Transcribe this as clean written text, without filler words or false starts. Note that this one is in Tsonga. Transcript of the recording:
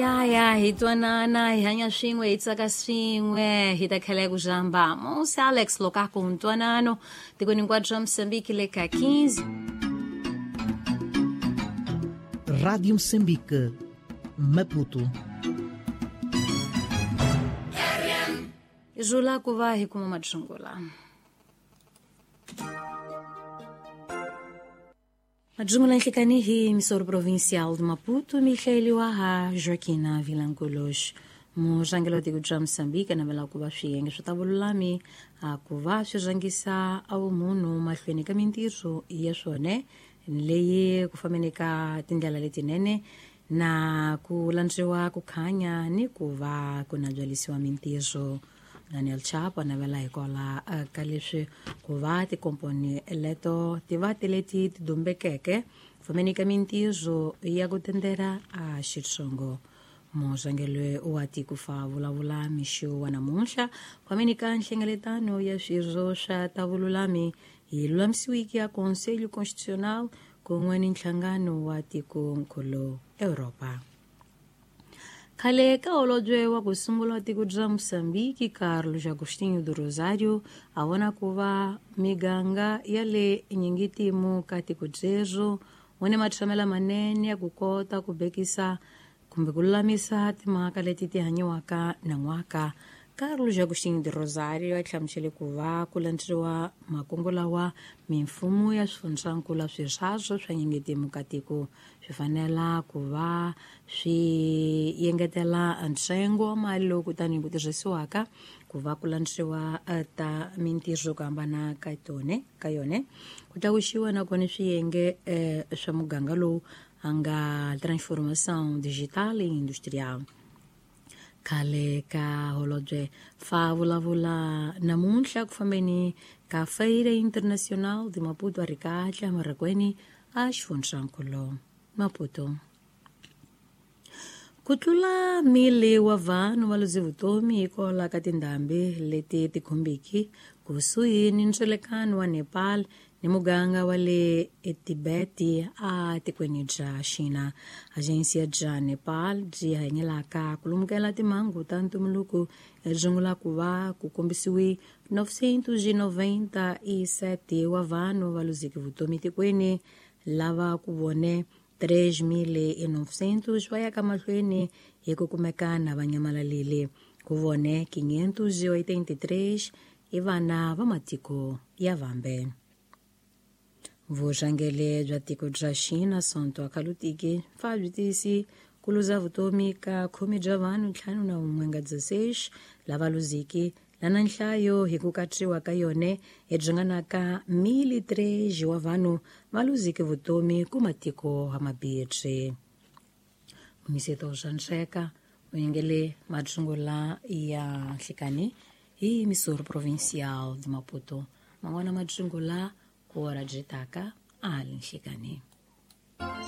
Ya hi twanana, hi hanya swin'we, hi tsaka swin'we, hi ta tlhela ku jamba Monse Alex Lokaku ntwanano tikweni hinkwaro ra Mosambiki le ka 15. Rádio Moçambique, Maputo. Zula ku va hi kuma matsungula. Madzungula nhlikani hi emissora provincial de Maputo, mihleliwa ha Joaquina Vilanculos. Murhangeri wa tiko bya Mosambiki a navela ku va swiyenge swi ta vululami a ku va swi rhangisa a vumunhu mahlweni ka mintirho ya swona leyi ku fambeni ka tindlela letinene na ku landziwa ku khanya ni ku va ku nabyalisiwa mintirho. Daniel Chapo a navela hikwalaho ka leswi ku va tikomponi leto ti va ti leti ti dumbekeke ku fambeni ka mintirho ya ku tendela a xitsongo. Murhangeri wa tiko fa vulavula mixo wa namuntlha ku fambeni ka nhlengeletano ya swirho swa ta vululami hi lulamisiwiki ya Conselho Constitucional kun'we ni nhlangano wa tikonkulu Europa. Khale ka holobye wa ku sungula tiko bya Mosambiki Carlos Agostinho do Rosário a vona ku va miganga ya le nyingitimu ka tiko byerhu wu ni matshamela manene ya ku kota ku bekisa kumbe ku lulamisa timhaka leti ti hanyiwaka nan'waka. Carlos Agostinho de Rosário a hlamusele ku va ku landzeriwa makungu lawa mimfumo ya swifundzankulu swirhazo swa nyingitimu ka tiko swi fanela ku va swi engetela ntsengo wa mali lowu kutani ku tirhisiwaka ku va ku landzeriwa ta mintirho ku hambana ka tone ka yone ku tlakusiwa nakona swiyenge swa muganga lowu a nga transformação digital e industrial. Khale ka holobye fa vulavula namuntlha ku fambeni ka Feira Internacional de Maputo a ri kahle emarakweni a xifundzankulu Maputo. Ku tlula mili wa vanhu va luze vutomi hikwalaho ka tindhambi leti ti khumbiki kusuhi ni ndzelekano wa Nepal ni muganga wa le Tibet a tikweni bya Xina. Agensiya bya Nepal byi hanyelaka ku lumukela timhangu ta ntumbuluko rungula ku va ku kombisiwe 997 wa vanhu va luzeke vutomi tikweni lava ku vone 3.900 va ya ka mahlweni hi ku kumeka na va nyamalalile. Ku vone 583 i vana va matiko ya vambe. Vurhangeri bya tiko bya Xina Sonto Akhalutiki fa byi tiyisi ku luza vutomi ka khume bya vanhu 51 lava luziki lana nhlayo hi ku katsiwa ka yone hi ringanaka 1,003 wa vanhu va luziki vutomi ku matiko hamabirhi. Mumiseto swa Nxeka u yingele matsungula ya nhlikani hi Missouri Provincial de Maputo. Man'wana matsungula ku ora byi taka a le nhlikani.